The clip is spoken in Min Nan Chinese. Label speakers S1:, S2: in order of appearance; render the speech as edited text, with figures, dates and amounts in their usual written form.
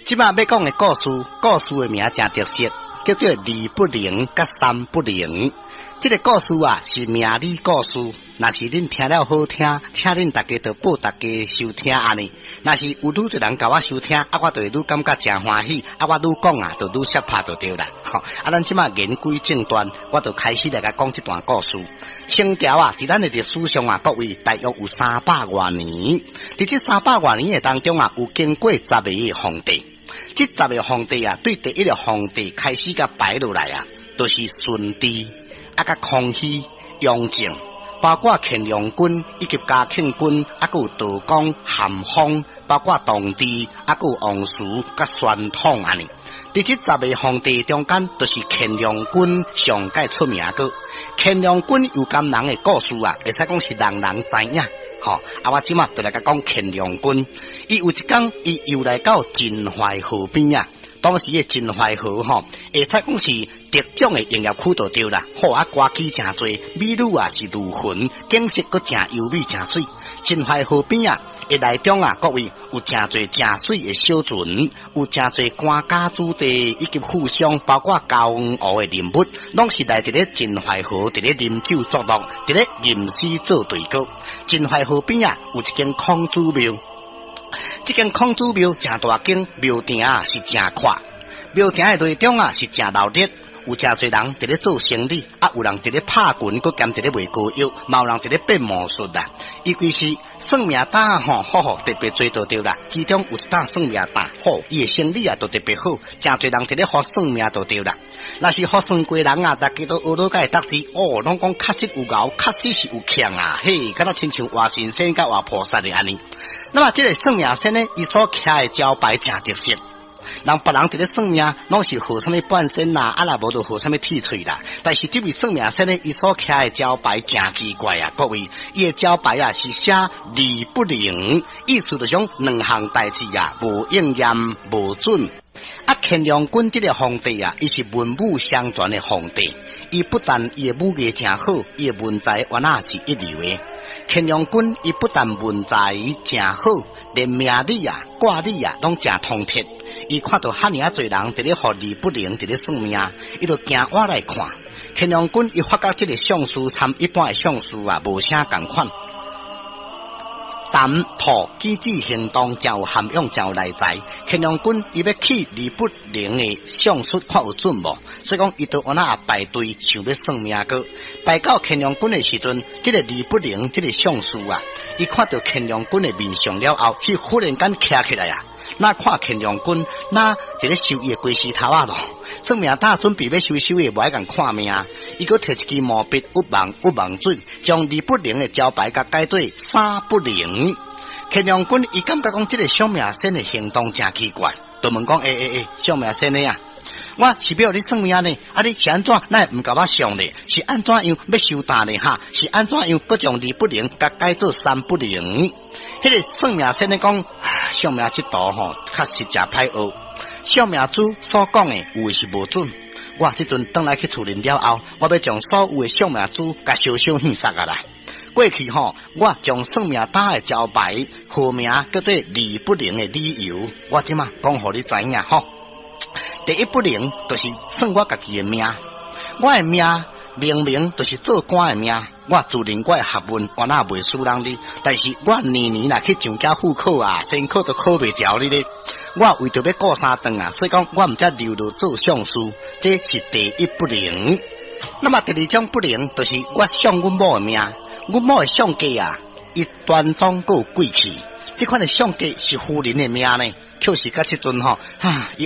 S1: 這擺欲講的故事，故事的名誠特色，叫做二不靈佮三不靈。這个故事啊是命理故事，若是恁聽了好聽，請恁大家就報大家收聽按呢。若是有愈濟人共我收聽，啊，我就會愈感覺誠歡喜，啊，我愈講啊，就愈攝拍就對啦。吼，啊，咱這擺言歸正傳，我就開始來共講這段故事。清朝啊，佇咱的歷史上啊，各位大約有三百外年。佇這三百外年的當中啊，有經過十个皇帝。這十个皇帝啊，對第一个皇帝開始共排落來啊，就是順治。啊，佮康熙、雍正，包括乾隆君以及嘉慶君，啊，閣有道光、咸豐，包括同治，啊，閣有王慈佮宣統按呢。佇這十个皇帝中間，就是乾隆君上蓋出名閣。乾隆君有感人的故事啊，會使講是人人知影。吼，啊，我這擺就來共講乾隆君。伊有一工，伊遊來到秦淮河邊啊。當時的秦淮河吼，會使講是特種的營業區就對啦。好啊，歌姬誠濟，美女啊是如雲，景色閣誠優美誠媠。秦淮河邊啊，的內中啊，各位有誠濟誠媠的小船，有誠濟官家子弟以及富商，包括江湖的人物，攏是來佇咧秦淮河佇咧啉酒作樂，佇咧吟詩作對歌。秦淮河邊啊，有一間孔子廟。這間孔子廟誠大間，廟埕啊是誠闊，廟埕的內中啊是誠鬧熱，有誠濟人佇咧做生理，啊有人佇咧拍拳，閣兼佇咧賣膏藥，嘛有人佇咧變魔術啦。尤其是算命擔吼，好好特別濟就對啦。其中有一擔算命擔，好，伊的生理啊就特別好，誠濟人佇咧予算命就對啦。若是予算過人啊，大家都學落會得知，哦，攏講確實有𠢕，確實是有強啊，嘿，敢若親像活神仙佮活菩薩的按呢。那麼這个算命先生，伊所徛的招牌誠特色。人別人佇咧算命，攏是號啥物半仙啦，啊若無就號啥物鐵喙啦。但是這位算命先生，伊所徛的招牌誠奇怪啊！各位，伊的招牌啊是寫二不靈，意思就是講兩項代誌啊，無應驗，無準。啊，乾隆君這个皇帝啊，伊是文武雙全的皇帝，伊不但伊的武藝誠好，伊的文才原來是一流的。乾隆君伊不但文才誠好，連命理啊、卦理啊，攏誠通徹。伊看著遐爾仔濟人佇咧予二不靈，佇咧算命，伊就行倚來看。乾隆君伊發覺這个相術參一般的相術啊，無啥仝款。談吐舉止行動誠有涵養，誠有內在。乾隆君伊欲去二不靈的相術看有準無？所以講伊就按怎排隊想欲算命閣。排到乾隆君的時陣，這个二不靈這个相術啊，伊看著乾隆君的面相了後，伊忽然間徛起來啊！若看乾隆君，若佇咧收伊的雞絲頭仔囉。算命擔準備欲收收伊，無愛共看命。伊閣摕一支毛筆，鬱望鬱望水，將二不靈的招牌共改做三不靈。乾隆君伊感覺講這个算命先的行動誠奇怪，就問講：欸欸欸，算命先的啊，我是欲予你算命呢，啊你是按怎？哪會毋共我相呢？是按怎樣欲收擔呢？哈？是按怎樣？閣將二不靈共改做三不靈？彼个算命先生講，算命這道吼，確實誠歹學。算命師所講的有的是無準。我這陣轉來去厝裡了後，我欲將所有的算命師共燒燒獻殺啊啦！過去吼，我將算命擔的招牌號名叫做二不靈的理由，我這馬講予你知影吼。第一不靈就是算我家己的命，我的命明明就是做官的命，我自認我的學問原來袂輸人哩，但是我年年若去上繳副考啊，先考都考袂牢哩咧。我為著欲顧三頓啊，所以講我毋才留落做相師，這是第一不靈。那麼第二種不靈，就是我相阮某的命，阮某的相格啊，伊端莊閣有貴氣，這款的相格是夫人的命呢，確實佮這陣吼，哈，伊。